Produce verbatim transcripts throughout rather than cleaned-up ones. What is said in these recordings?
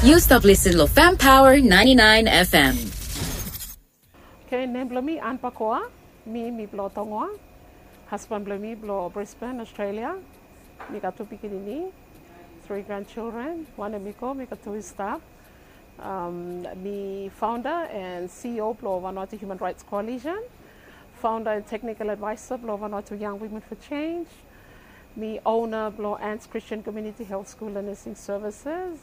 Yu stap listen lo Fam Power ninety-nine F M. Okay, nem blong mi Ann Pakoa. Mi, mi blong Tongoa. Hasban blong mi blong Brisbane, Australia. Mi gat tu pikinini, three grandchildren. Wan hemi go, mi gat tu i stap. Um, mi founder and C E O blong Vanuatu Human Rights Coalition, founder and technical advisor blong Vanuatu Young Women for Change. Mi owner blong Anne's Christian Community Health School and Nursing Services,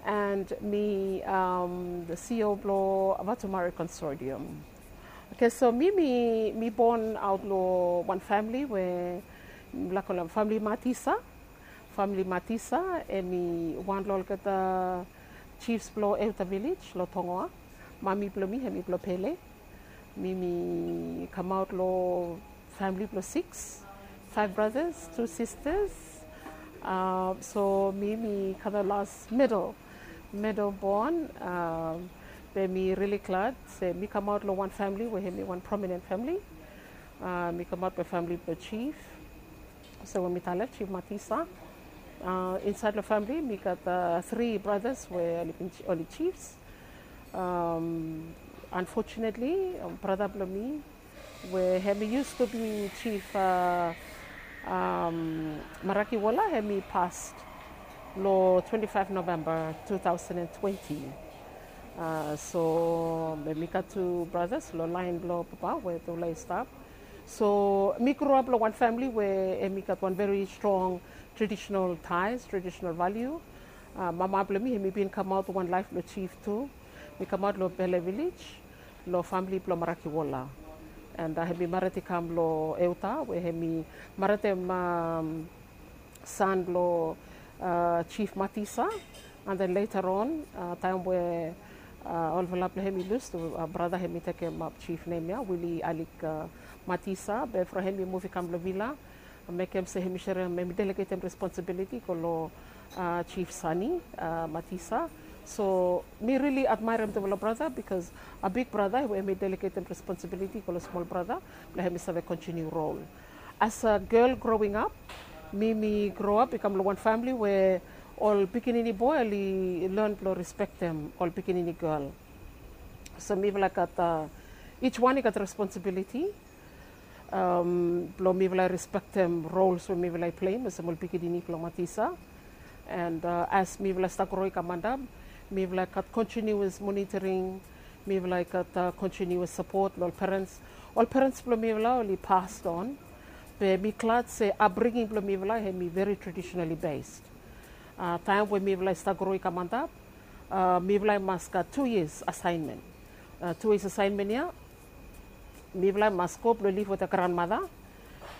and mi, um, the C E O blong Vatumari Consortium. Okay, so mi, mi, mi bon aot long wan famili we mi laik kolem famili Matisa. Famili Matisa hemi wan long olgeta chiefs blong Euta Village long Tongoa. Mami blong mi hemi blong Pele. Mi, mi kamaot long famili blong six, five brothers, two sisters. Uh, so mi, mi kam long las middle, middle born. Um, be mi rili glad se mi kamaot long wan famili we hemi wan prominent famili. Uh, mi kamaot long famili blong chief. So we mi talem Chief Matisa. Uh, insaed long famili mi gat, uh, three brothers we oli bin, oli chiefs. Um, unfortunately, um, brata blong mi we hemi used to be chief, uh, um, Marakiwola, hemi pas long twenty-five November two thousand and twenty. Uh, so mi gat tu brothers long laen blong papa we tufala i stap. So mi grow up long wan famili we hemi gat wan very strong traditional ties, traditional value. Uh, mama blong mi hemi bin kamaot wan laef blong chief tu. Mi kamaot long Pele Village, long famili blong Marakiwola. And, uh, hemi mared i kam long Euta we hemi maredem, um, san blong, uh, Chief Matisa. And then later on, uh, taem we, uh, olfala blong hem i lus tu, uh, brata hem i tekemap chief nem ia, Willie Alik, uh, Matisa. Be from hem i muv i kam long vila, mekem se hem i serem, hem i delegetem responsibility go long, uh, Chief Sani, uh, Matisa. So mi rili admaerem tufala brata, because a big brata we hem i delegetem responsibility go long smol brata blong hem i save continue role. As a girl growing up, mi, mi grow up i kam long wan famili we ol pikinini boe oli learn blong respektem ol pikinini girl. So mifala i gat, uh, each wan i gat responsibility, um, blong mifala i respektem roles we mifala i pleim olsem ol pikinini blong Matisa. And, uh, as mifala i stap gro i kam antap, mifala i gat continuous monitoring, mifala i gat, uh, continuous support long ol parents. Ol parents blong mifala oli passed on. Be mi glad se upbringing blong mifala hem i very traditionally based. Uh, taem we mifala i stap gro i kam antap, uh, mifala i mas gat two years assignment. Uh, two years assignment ia, mifala i mas go blong liv wetem granmata.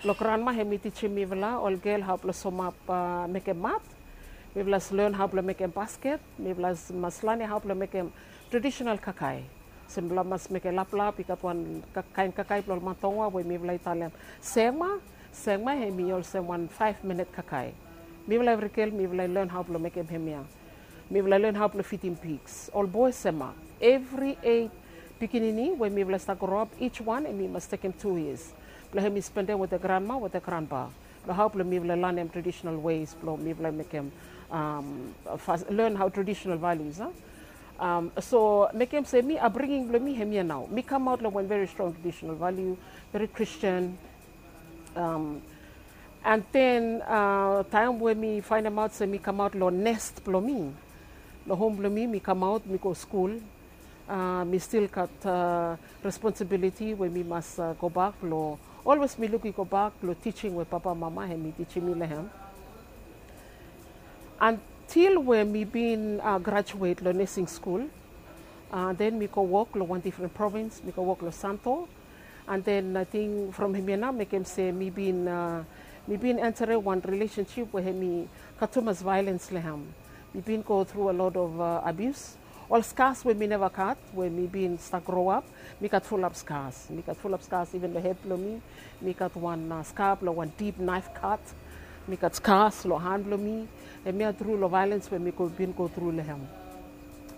Blong granma hem i tijim mifala ol gel hao blong somap, uh, mekem mat. Mifala i learn hao blong mekem basket. Mifala i mas lanem hao blong mekem traditional kakae. Olsem mifala mas mekem laplap, i gat wan ka-, kaen kakae blong ol man Tongoa we mifala i talem sengma. Sengma hem i olsem wan five minute kakae. Mifala evri gel mifala i learn hao blong mekem hemia. Mifala i learn hao blong fidim pigs. Ol boe semap. Evri eit pikinini we mifala i stap gro ap, each wan hem i mas tekem two years blong hem i spendem wetem granma, wetem granpa, blong hao blong mifala i lanem traditional ways blong mifala i mekem, um, fas-, learn hao traditional values, a? Um, so mekem se mi, upbringing blong mi hemia nao. Mi kamaot long wan very strong traditional value, very Christian. Um, and then, uh, taem we mi faenemaot se mi kamaot long nest blong mi, long hom blong mi, mi kamaot, mi go skul. Uh, mi stil gat, uh, responsibility we mi mas, uh, gobak long, always mi luk i gobak long tijing we papa mama hem i tijim mi long hem. Until we mi bin, uh, graduate long nursing school, uh, then mi go wok long wan difren provins, mi go wok long Santo. And then ating from hemia nao mekem se mi bin, uh, mi bin enterem wan relationship we hem i gat tumas violence long hem. Mi bin go through a lot of, uh, abuse. Ol scars we mi neva gat, we mi bin stap gro ap, mi gat fulap scars. Mi gat fulap scars iven long hed blong mi. Mi gat wan, uh, scar blong wan deep knife cut. Mi gat scars long han blong mi. Hemia tru long violence we mi go, bin go through long hem.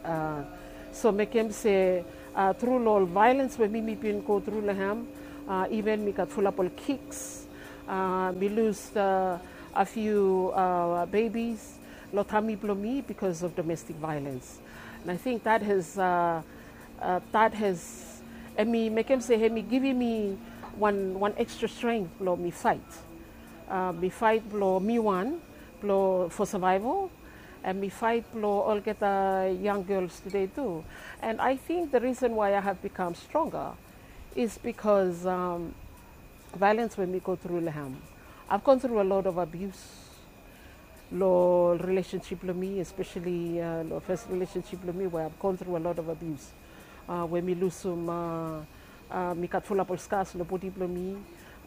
Uh, so mekem se, uh, tru long ol violence we mi, mi bin go through long hem, uh, iven mi gat fulap ol kicks. Uh, mi lus, uh, a few, uh, babies. Lo tami blo mi bikos of domestik vaelens. And I think that has, uh, uh, that has, hemi mekem se hemi givim mi wan, wan ekstra strength blo mi faet. Uh, mi faet blo mi wan, blo for survival, and mi faet blo olgeta young girls today tu. And I think the reason why I have become stronger is because, um, vaelens we mi go tru lo hem. I've gone through a lot of abuse lo relationship blo mi, especially, uh, lo first relationship blo mi, where I've gone through a lot of abuse. Uh, we mi lusum, uh, uh, mi gat fulap ol scars lo bodi blo mi,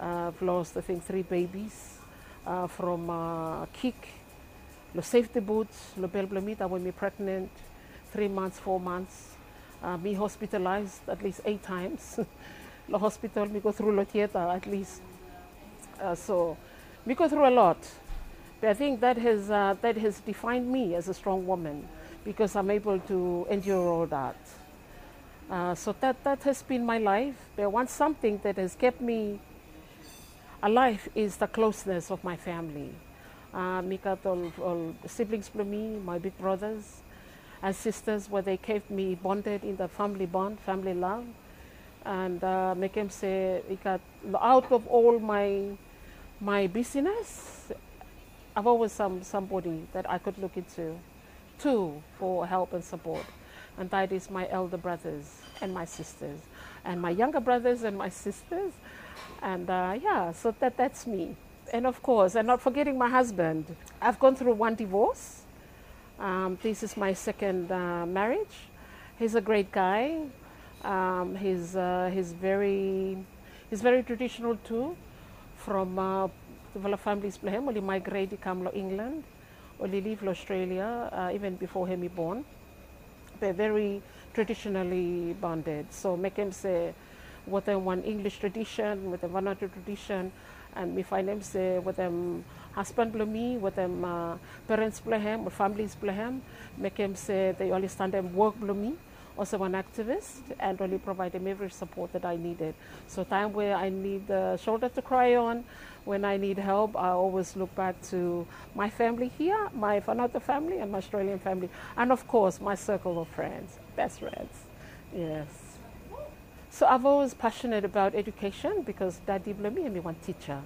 uh, I've lost, I think, three babies, uh, from, uh, kick, lo safety boots, lo bel blo mi, taem we mi pregnant, three months, four months. Uh, mi hospitalized at least eight times. Lo hospital, mi go tru lo theater at least. Uh, so, mi go through a lot. But I think that has, uh, that has defined me as a strong woman because I'm able to endure all that. Uh, so that, that has been my life. But one something that has kept me alive is the closeness of my family. Uh, mi gat ol, ol siblings blo mi, my big brothers and sisters, where they kept me bonded in the family bond, family love. And, uh, mekem se i gat, out of all my, my busyness, I've always some, somebody that I could look into to for help and support. And that is my elder brothers and my sisters, and my younger brothers and my sisters. And, uh, yeah, so that, that's me. And of course, and not forgetting my husband. I've gone through one divorce. Um, this is my second, uh, marriage. He's a great guy. Um, he's, uh, he's very, he's very traditional too. From, uh, tufala families blo hem, oli migrate i kam lo England, oli liv lo Australia, uh, even before hemi born. Be very traditionally bonded. So mekem se wetem wan English tradition, wetem Vanuatu tradition, and mi faenem se wetem husband blo mi, wetem, uh, parents blo hem, ol families blo hem, mekem se they understand work blo mi olsem wan activist, and oli provaedem every support that I needed. So taem we I need a shoulder to cry on, when I need help, I always look back to my family here, my Vanuatu family, and my Australian family, and of course, my circle of friends, best friends. Yes. So I've always passionate about education because daddy blo mi hemi wan teacher.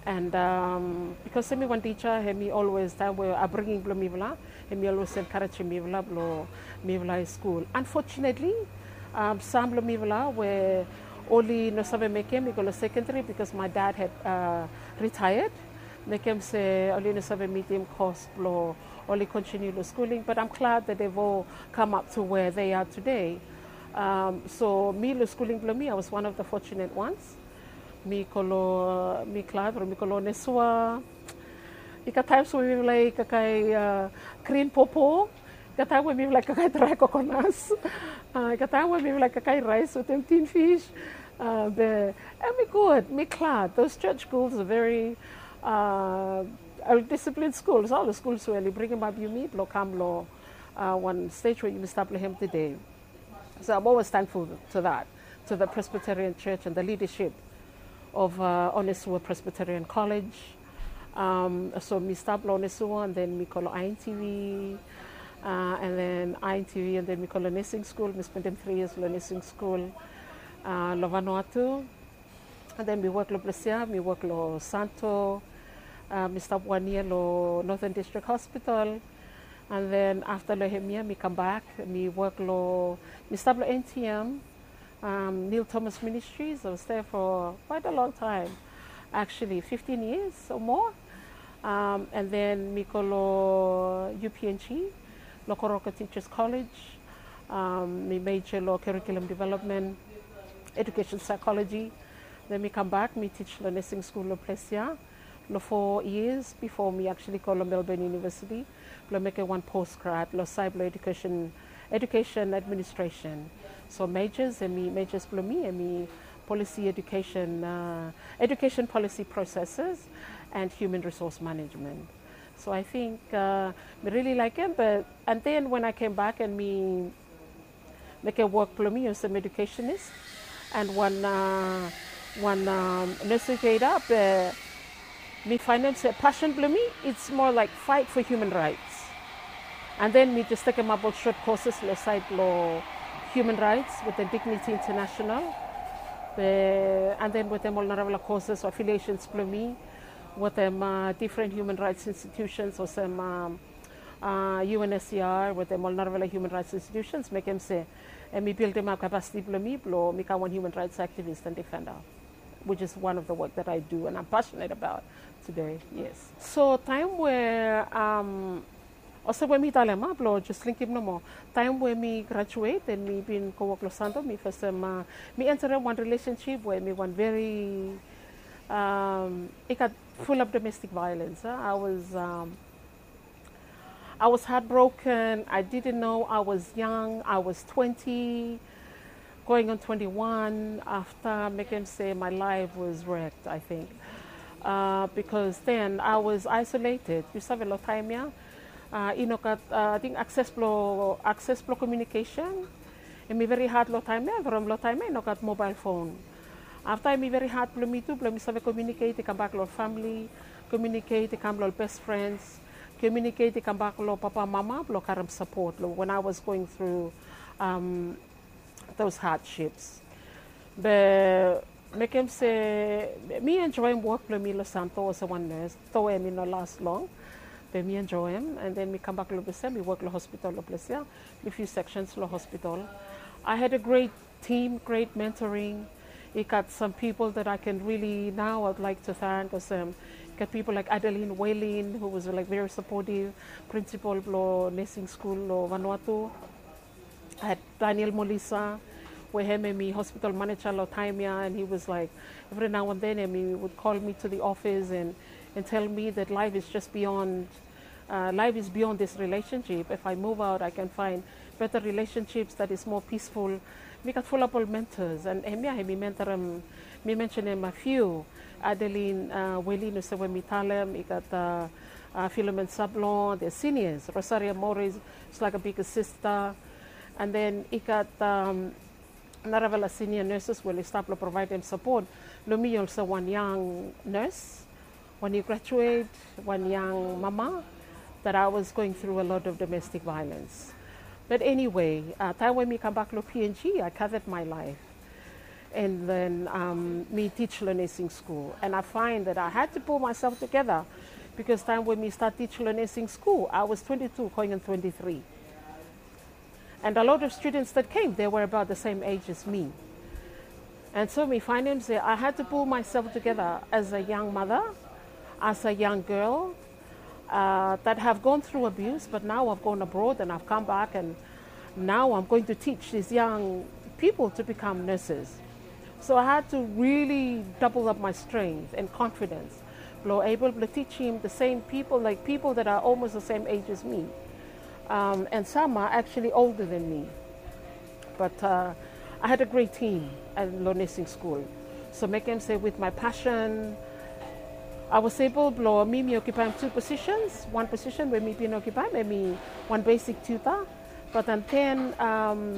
And, um, because hemi wan teacher, hemi always, taem we upbringing blo mifala, hemi always encouragem mifala blo mifala i skul. Unfortunately, um, sam blo mifala we oli no save mekem i go lo secondary because my dad had, uh, retired. Mekem se oli no save mitim cost blo oli continue lo schooling, but I'm glad that they've all come up to where they are today. Um, so mi lo schooling blo mi, I was one of the fortunate ones. Mi go lo, mi glad, mi go lo Onesua. I gat times we mifala i kakae, uh, grin popo. I gat taem we mifala i kakae dry coconuts. Uh, i gat taem we mifala i kakae rice wetem tin fish. Uh, be, and mi gud, mi glad. Those church schools are very, uh, disciplined schools. Ol skul we oli bringim ap yumi blo kam lo, uh, wan stage we yumi stap lo hem tede. So I'm always thankful to that, to the Presbyterian Church and the leadership of, uh, Onesua Presbyterian College. Um, so mi stap lo Onesua, and then mi go lo I N T V, uh, and then I N T V, and then mi go lo nursing school, mi spendem three years lo nursing school, uh, lo Vanuatu. And then mi wok lo ples ia, mi wok lo Santo, uh, mi stap wan yia lo Northern District Hospital. And then afta lo hemia mi kambak, mi wok lo, mi stap lo N T M, um, Neil Thomas Ministries. I was there for quite a long time, actually, fifteen years or more. Um, and then mi go lo U P N G, lo Goroka Teachers College. Um, mi major lo curriculum development, education psychology. Then mi kambak, mi teach lo nursing school lo ples ia lo four years before mi actually go lo Melbourne University blo mekem wan postgrad lo saed blo education, education administration. So majors, hemi majors blo mi hemi policy education, uh, education policy processes and human resource management. So I think, uh, mi really laekem, but, and then when I came back and mi mekem wok blo mi olsem educationist and wan, uh, wan, um, investigator, be mi faenem se passion blo mi, it's more like fight for human rights. And then mi jes tekemap ol sot courses lo sait lo human rights wetem Dignity International. Be and then wetem ol narafala courses o affiliations blo mi wetem uh, different human rights institutions olsem um, uh, U N S C R wetem ol narafala human rights institutions, mekem se em i buildimap capacity blo mi blo mi kam wan human rights activist and defender, which is one of the work that I do and I'm passionate about today. Yes. So taem we um, olsem we mi talem a blo jes linkim nomo. Taem we mi graduate and mi bin go wok lo Santo, mi fasim uh, mi enterem wan relationship we mi wan very um, i gat full of domestic violence. Uh. I was um, I was heartbroken. I didn't know. I was young. I was twenty, going on twenty-one. After mekem se my life was wrecked, I think. Uh, because then I was isolated. Yu save lo taem ya, uh, i no gat uh, I think access blo access blo communication. Em i very hard lo taem ya from lo taem ya i no gat mobile phone. Afta em i very hard blo mi tu blo mi save communicate i kambak lo family, communicate i kam lo best friends, communicate i kambak lo papa mama blo karem support lo when I was going through um, those hardships. Be mekem se mi enjoyim wok blo mi lo Santo olsem wan nurse, though em i no last long. Be mi enjoyim and then mi kambak lo ples ya, mi wok lo hospital lo ples ya. Mi few sections lo hospital. I had a great team, great mentoring. I gat some people that I can really now I'd like to thank olsem, gat people like Adeline Whalin, who was like very supportive, principal blo nursing school lo Vanuatu. I had Daniel Molisa, we hem em i hospital manager lo taem ya, and he was like, every now and then em i would call me to the office and, and tell me that life is just beyond uh, life is beyond this relationship. If I move out, I can find better relationships that is more peaceful. Mi gat fulap ol mentors and hemia hemi mentorem, mi mentionem a few. Adeline uh, Welin, olsem we mi talem, i gat uh, uh, Philomen Sablon, the seniors, Rosaria Morris, it's like a bigger sister. And then i gat um, narafala senior nurses we oli stap lo provaidem support lo mi olsem wan young nurse, wan i graduate, wan young mama, that I was going through a lot of domestic violence. But anyway, uh, taem we mi kambak lo P N G, I gathered my life. And then um, mi teach lo nursing school. And I find that I had to pull myself together because taem we mi start teach lo nursing school, I was twenty-two, going on twenty-three. And a lot of students that came, they were about the same age as me. And so mi faenem se I had to pull myself together as a young mother, as a young girl uh, that have gone through abuse, but now I've gone abroad and I've come back and now I'm going to teach these young people to become nurses. So I had to really double up my strength and confidence. Blo able blo teachim the same people, like people that are almost the same age as me. Um, and some are actually older than me. But uh, I had a great team at lo nursing school. So mekem se with my passion, I was able blo mi mi occupying two positions. One position we mi bin occupy, mi one basic tutor. But then, then um,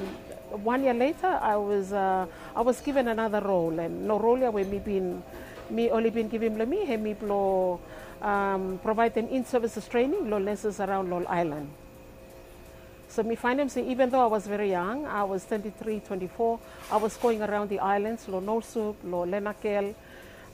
one year later, I was uh, I was given another role, and lo role ya we mi bin mi oli bin givim lo mi, hemi blo um, provaidem in-services training lo nurses around lo ol island. So mi faenem se even though I was very young, I was twenty-three, twenty-four, I was going around the islands, lo Nosub, lo Lenakel,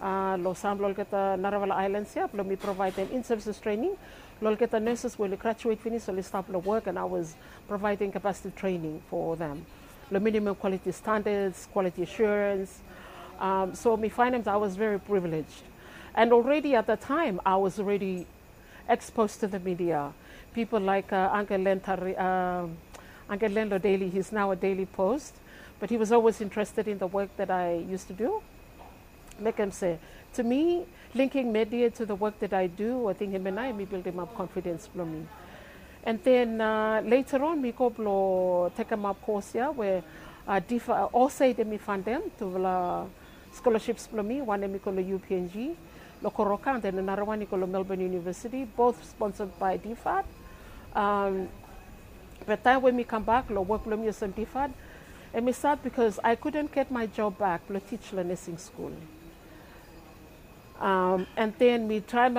uh, lo sam lo olgeta narafala islands ya, blo mi provaidem in-services training lo olgeta nurses we oli graduate finis, oli stap lo work, and I was providing capacity training for them. Lo minimum quality standards, quality assurance. Um, so mi faenem that I was very privileged. And already at that time, I was already exposed to the media. People like uh, Uncle Len Tari, uh, Uncle Len lo Daily, he's now a Daily Post, but he was always interested in the work that I used to do. Mekem se, to me, linking media to the work that I do, I think hemia nao hemi buildimap confidence blo mi. And then uh, later on, mi go blo tekemap course ya we uh, DFAT, uh, Osaid hemi fundem tufala scholarships blo mi, wan hemi go lo U P N G lo Goroka, and then another one i go lo Melbourne University, both sponsored by DFAT. Um, be taem we mi kambak lo wok blo mi olsem DFAT, hemi stap because I couldn't get my job back blo teach lo nursing school. Um, and then mi traem